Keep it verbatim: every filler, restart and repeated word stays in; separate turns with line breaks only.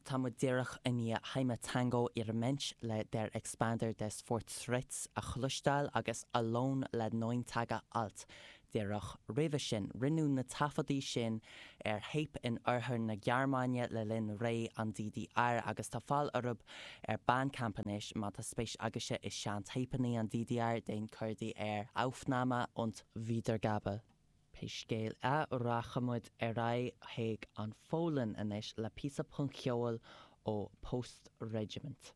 Tá muid díreach i ndiaidh Heimat Tango ihre Mensch le Der Expander des Fortschritts a chloisteáil agus Alone le Neun Tage Alt. Díreach roimhe sin rinneadh na taifeadtaí sin ar théip in oirthear na Gearmáine le linn ré an DDR agus tá fáil orthu ar Bandcamp anois má tá spéis agaibhse i seantéipeanna an DDR déan cuardach ar Aufnahme und Wiedergabe. Pé scéal é rachaimid ar aghaidh chuig an Pholainn anois le píosa punc-cheoil ó Post Regiment.